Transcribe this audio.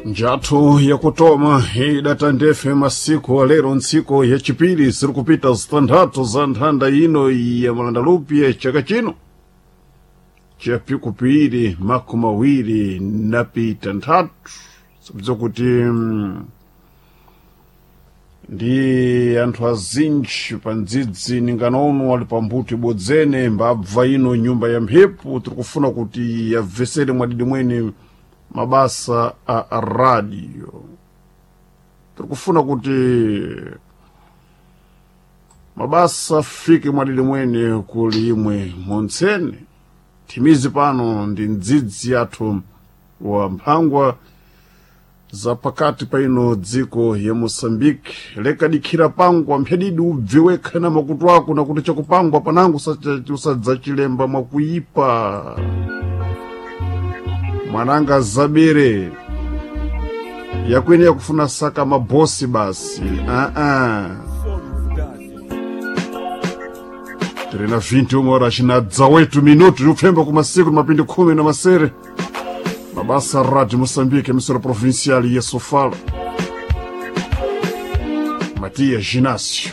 Njathu yakutoma idata ndefe masiku alero ntsiku yachipiri ziri kupita zitanthatu za nthanda ino ya malandalupi chaka chino chapikupiri makumi awiri napita nthatu sibza kuti ndi anthu azinji pa ndzidzi ninganono ali pambuto ibodzene mbabva ino nyumba ya mphepo tiri kufuna kuti yabvesere mwadidi mwene mabasa a radio. Tiri kufuna kuti mabasa afike mwadidi mwene kuli imwe montsene. Thimizi pano ndi ndzidzi yathu wa mphangwa za pakati pa ino dziko ya Moçambique. Lekadikhira pangwa mphedidi ubve wekha na makutu ako nakuti chakupangwa panango usadzachilemba mwakuipa. Mwananga zabere yakwene yakufuna saka mabosi basi aa tiri na 21 horas na 18 minutos upfemba kumasiku ni mapindi khumi na masere. Mabasa Radio Moçambique, emissora provincial ya Sofala. Matias Ginácio.